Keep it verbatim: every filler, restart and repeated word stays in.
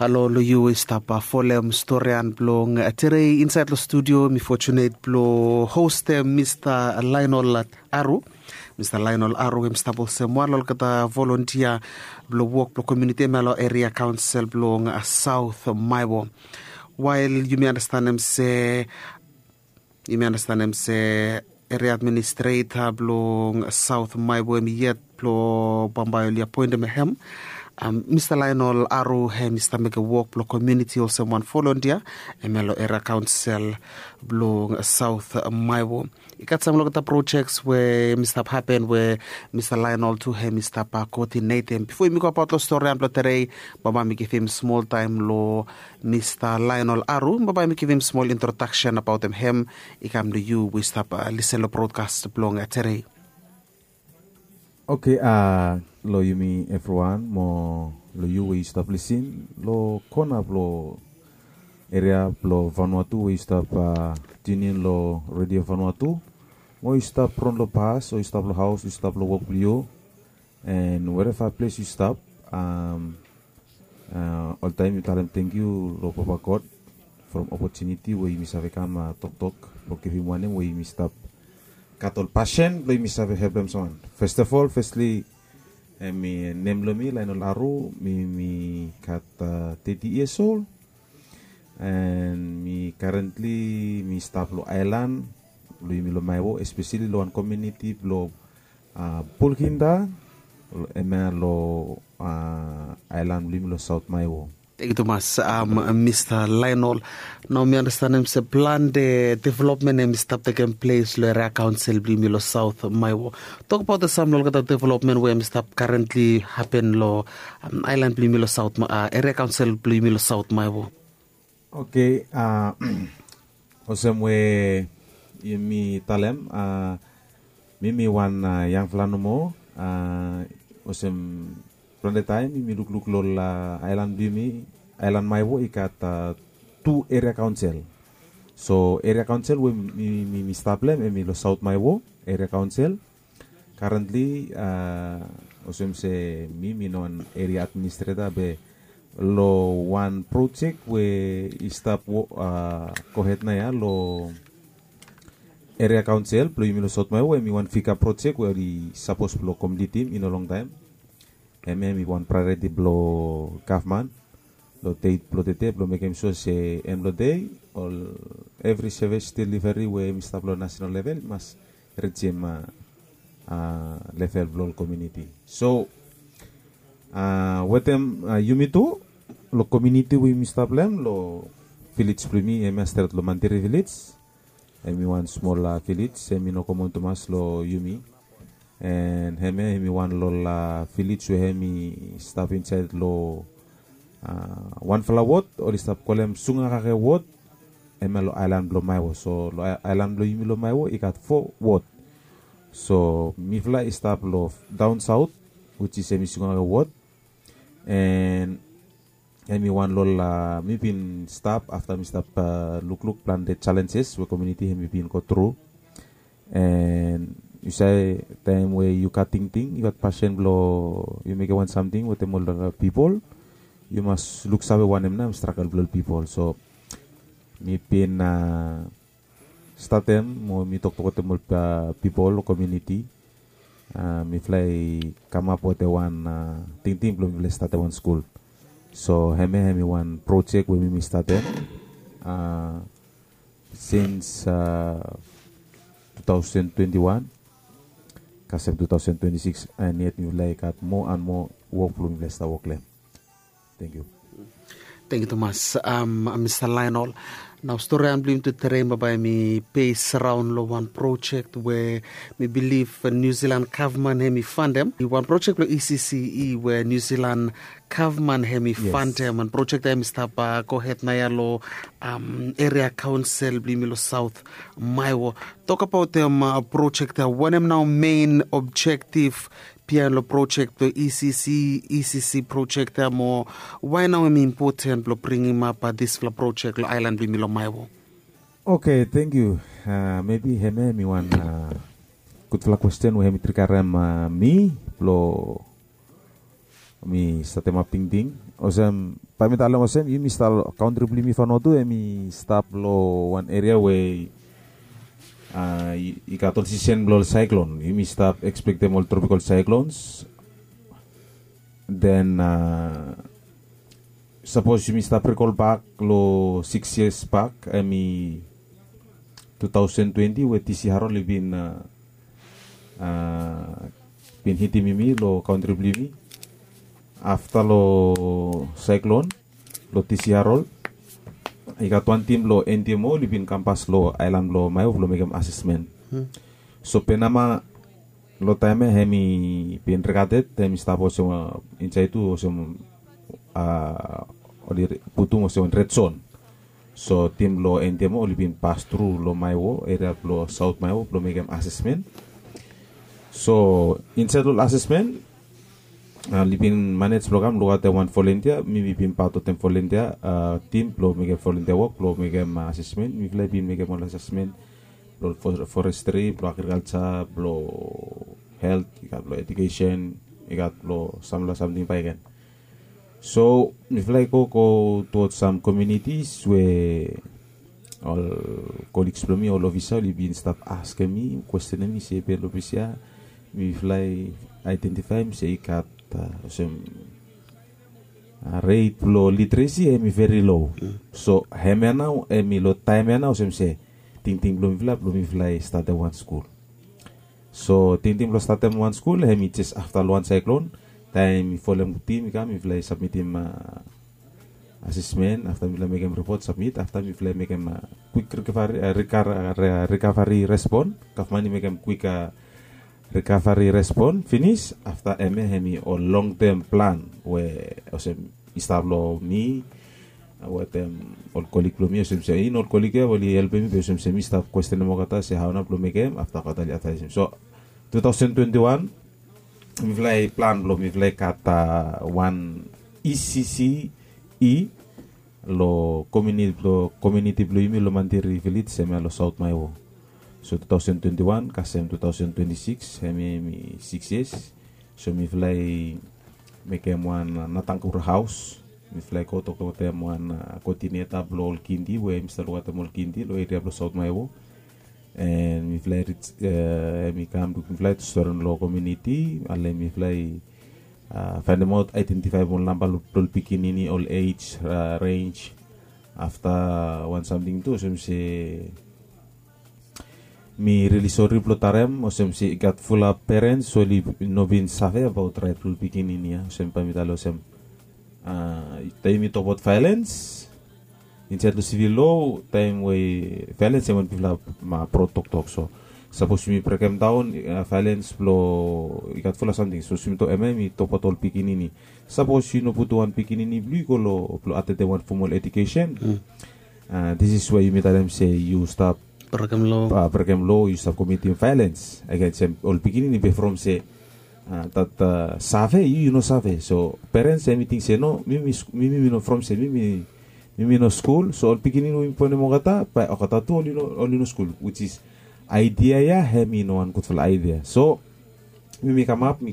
Alo lo yu we i stap folem storian blong terei insaet lo studio, mi fotunet blo hostem mista Lainol Aru. Mista Lainol Aru em i stap olsem wan lo olgeta volontia blo wok blo komiuniti em ya lo eria kaonsel blong Saot Maewo. Wael yumi anastanem se yumi anastanem se eria administreta blong Saot Maewo em yet blo bambae oli apoentem hem. Mista Lainol Aru hem i stap mekem wok blo komiuniti olsem wan volontia em ya lo eria kaonsel blong Saot Maewo. I gat sam olgeta projeks we mi stap hapen we mista Lainol tu hem i stap koodinetem. Bifo yumi go abaot lo storian blo terei, bambae mi givim smol taem lo mista Lainol Aru, bambae mi givim smol introdaksen abaotem hem i kam lo yu we i stap lisen lo brodkas blong terei. Oke, a lo yumi evriwan mo lo yu we i stap lisin lo kona blo eria blo Vanuatu we i stap a tunin lo redio Vanuatu, mo i stap ron lo bas o i stap lo haos, i stap lo wok blo yu, en wereva ples i stap. Oltaem yu talem tangkiu lo Papa God from opotuniti we yumi save kam toktok blo givim wanem we yumi stap gat ol pasen blo yumi save helpem sam wan. Festafol fesli, em i nem blo mi Lainol Aru, mi mi gat teti yias ol. En mi karentli mi stap lo aelan blo yumi lo Maewo, espeseli lo wan komiuniti blo Bulkinda, em ya lo aelan blo yumi lo Saot Maewo. Tangkiu tumas, mista Lainol. Nao mi anastanem se plante developmen em i stap tekem ples lo eria kaonsel blo yumi lo Saot Maewo. Tokbaot sam lo olgeta developmen we em i stap karentli hapen lo aelan blo yumi lo Saot, eria kaonsel blo yumi lo Saot Maewo. Oke, a olsem we yumi talem, a mi mi wan yangfala nomo. A olsem plante taem yumi lukluk lo aelan blo yumi, aelan Maewo i gat tu eria kaonsel. So eria kaonsel we mi mi mi stap lo hem em i lo Saot Maewo eria kaonsel. Karentli a olsem se mi mi no wan eria administreta be lo wan projek we i stap a gohed nao ya lo eria kaonsel blo yumi lo Saot Maewo, em i wan figa projek we oli sapos blo komplitim i no longtaem. Hem ya em i wan praeoriti blo gavman lo deit blo tede blo mekem sua se en blo dei ol evri sevis deliveri we hem i stap lo nasenal level i mas rijim a level blo ol komiuniti. So a wetem yumi tu lo komiuniti we yumi stap lo hem, lo vilej blo yumi hem ya stret lo Mantiri vilej. Hem i wan smol vilej, hem i no komon tumas lo yumi. En hem ya hem i wan lo ol vilej we hem i stap insaed lo wanfala wod oli stap kolem Sungakake wod. Hem ya lo aelan blo Maewo. So lo aelan blo yumi lo Maewo i gat fo wod. So mifala i stap lo daon saot, wij is hem i Sungakake wod. En hem i wan lo ol, mi bin stap afta mi stap lukluk plante jalenjes we komiuniti hem i bin go tru. En yu save, taem we yu gat tingting, yu gat pasen blo yu mekem wan samting wetem ol pipol, yu mas luksave wanem nao hem stragel blo ol pipol. So mi bin statem mo mi toktok wetem ol pipol lo komiuniti. Mifala i kamap wetem wan tingting blo mifala i statem wan skul. So hemia hem i wan projek we mi mi statem sins tu taosen twenti wan kasem tu taosen twenti sikis, and yet mifala i gat moa and moa wok blo mifala i stap wok lo hem. Tangkiu. Tangkiu tumas, Mista Laenol. Nao storian blong yumi tu terei bambae hem i bes raon lo wan projek we mi bilif Niu Silan gavman hem i fandem. I wan projek blo E C C E we Niu Silan gavman hem i fandem. Wan projek ya hem i stap gohed naoia lo eria kaonsel blong yumi lo Saot Maewo. Tokabaot hem projek ya, wanem nao mein objektif biaen lo projek blo E C C, E C C projek ya mo wae nao hem i impoten blo bringimap disfala projek lo aelan blong yumi lo Maewo? Oke, tangkiu. Mebi hemia hem i wan gudfala kwesten we hem i trigarem mi blo mi statemap tingting. Olsem, bae mi talem olsem, yumi stap, kantri blong yumi Vanuatu hemi stap long wan eria we i gat ol sisen blong ol saeklon. Yumi stap ekspektem ol tropikal saeklons. Den sapos yumi stap rikol bak long sikis yias bak, hemi tu taosen twenti, we T C Harold i bin bin hitim yumi long kantri blong yumi. Afta long saeklon, long T C Harold, i gat wan tim blong N D M O oli bin kam pas long aelan blong Maewo blong mekem asesmen. So Penama long taem ya hemi bin rikated, hemi stap olsem, insaed tu olsem, oli putum olsem wan red zon. So tim blong N D M O oli bin pas tru long Maewo, eria blong Saot Maewo blong mekem asesmen. So insaed long ol asesmen, oli bin manej blong kam lukaotem wan volontia. Mi mi bin pat wetem volontia tim blong mekem volontia wok blong mekem asesmen. Mifala i bin mekem ol asesmen blong forestri, blong agrikalja, blong helt, i gat blong edukesen, i gat blong samfala samting bakegen. So mifala i go go tuwod sam komiunitis we ol koligs blong mi, ol ofisa, oli bin stap askem mi, kwestenem mi se, be long ples ya mifala i aedentifaem se i gat olsem ret blong literesi hemi veri lo. So hemia nao hemi long taem ya nao olsem se tingting blong mifala blong mifala i statem wan skul. So tingting blong statem wan skul hemi jes afta long wan saeklon. Taem mi folem tim i kam, mifala i sabmitim asesmen, afta mifala mekem ripot, sabmit, afta mifala mekem kwik rikavari respon. Gavman i mekem kwik rikavari respon finis. Afta hemia hemi ol longtem plan we olsem i stap long mi wetem ol kolig blong mi, olsem se in ol kolig ya oli helpem mi, be olsem se mi stap kwestenem olgeta se hao nao blong mekem. Afta olgeta oli advaesem. So tu taosen twenti wan mifala i plan blong mifala i gat wan E C C E long komiuniti blong yumi long Mantiri Vilej, hemia long Saot Maewo. So tu taosen twenti wan kasem tu taosen twenti sikis, hemia hemi sikis yias. So mifala i mekem wan Natangura Haos. Mifala i go toktok wetem wan koodineta blong ol kindi we hemi stap lukaotem ol kindi long eria blong Saot Maewo. And mifala i rij, hemi kam luk mifala i tu storen long komiuniti, ale mifala i faenemaot, aedentifaem ol namba blong ol pikinini, ol ej renj. Afta wan samting tu olsem se mi rili sori blong talem olsem se i gat fulap perens we oli no bin save abaot raet blong ol pikinini ya. Olsem bae mi talem olsem, taem yumi tokbaot vaelens insaed long sivil loa, taem we vaelens hemi wan bigfala bro toktok. So sapos yumi brekemdaon vaelens blong i gat fulap samting, sapos yumi tok, hemia yumi tokbaot ol pikinini. Sapos yu no putum wan pikinini blong yu i go long blong atendem wan fomol edukesen, this is we yumi talem se yu stap brekem loa, yu stap komitim vaelens agensem ol pikinini be from se dat save yu, yu no save. So perens hemi ting se no, mi mi mi no from se mi mi mi no skul, so ol pikinini we yumi bonem olgeta bae olgeta tu oli no skul, which is aedia ya hemi no wan gudfala aedia. So mi mi kamap, mi